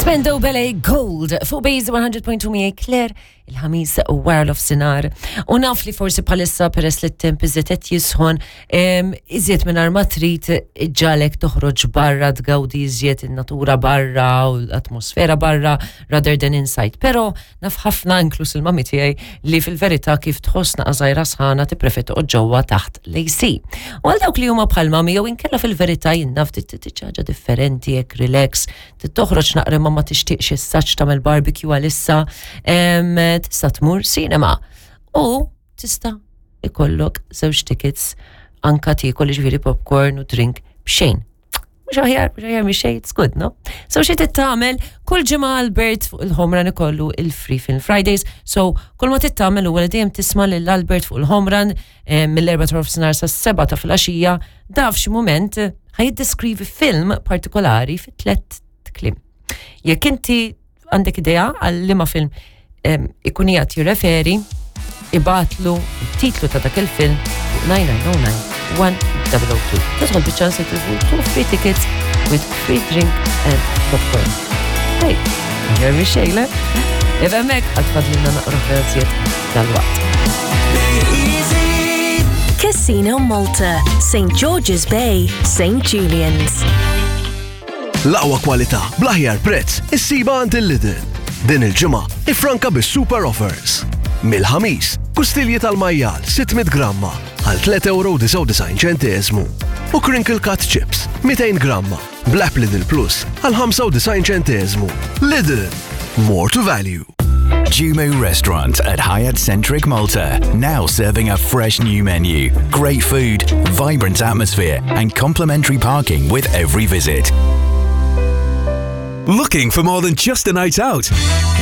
Spendo Ballet Gold fuq Base 100.2 miegħi Claire il-ħamis wara l-ofsinar. U naf li forsi bħalissa peress li t-temp iżjed qed jisħon, iżjed minn ma trid ġalek toħroġ barra tgawdi iżjed in-natura barra u l-atmosfera barra rather than inside. Però naf ħafna inkluż il-mami tiegħi li fil-verità kif tħoss naqa' żgħira sħana tippreferi toqgħod ġewwa taħt l-AC. U għal dawk li huma bħal mami jew inkella fil-verità jien naf ħaġa differenti hekk relax toħroġ naqra ma ma tixtieqx issa tagħmel barbecue għalissa, tista' tmur cinema. U tista' ikollok żewġ tickets anka tiekol ġifieri popcorn u drink b'xejn. Mhux aħjar, mhux aħjar mhix xejn, it's good, no? So xi tagħmel kull ġimgħa Albert fuq il-Homran ikollu il-Free Film Fridays. So kull ma tittamel huwa li dejjem tisma' lil Albert fuq il-Homran mill-4 ta' nofsinhar sas-7 ta' filgħaxija, da f'xi mument ħa jiddeskrivi film partikolari fi tlet kliem. Jekk inti għandek idea għal liema film ikun qiegħed jirreferi, ibgħatlu it-titlu ta' dak il-film fuq 9909 1002. Tidħol biċ-ċans li tilfu two free tickets with free drink and popcorn. Hey, jermi xejle. Ifemmek, għatfadlina naqra ħelsiet dal-waqt. Casino Malta, St. George's Bay, St. Julian's. L-aqwa kwalità bl-aħjar prezz issiba għand il-Lidl. Din il-ġimgħa ifranka bis-super offers. Mill-ħamis, kustilji tal-majjal 600 gramma għal 3.99 ċentesmu u crinkle cut chips 200 gramma bl-app Lidl Plus għal 95 ċentesmu. Lidl, more to value. Jumu Restaurant at Hyatt Centric Malta, now serving a fresh new menu, great food, vibrant atmosphere, and complimentary parking with every visit. Looking for more than just a night out?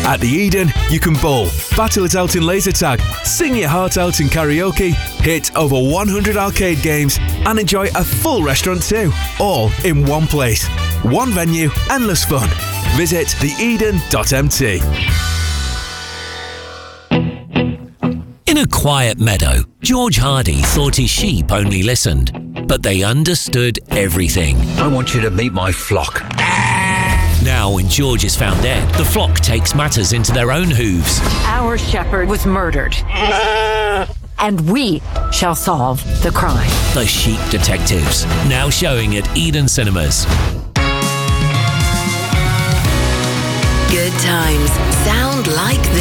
At the Eden, you can bowl, battle it out in laser tag, sing your heart out in karaoke, hit over 100 arcade games, and enjoy a full restaurant too. All in one place. One venue, endless fun. Visit theeden.mt. In a quiet meadow, George Hardy thought his sheep only listened, but they understood everything. I want you to meet my flock. Now, when George is found dead, the flock takes matters into their own hooves. Our shepherd was murdered. And we shall solve the crime. The Sheep Detectives, now showing at Eden Cinemas. Good times sound like this.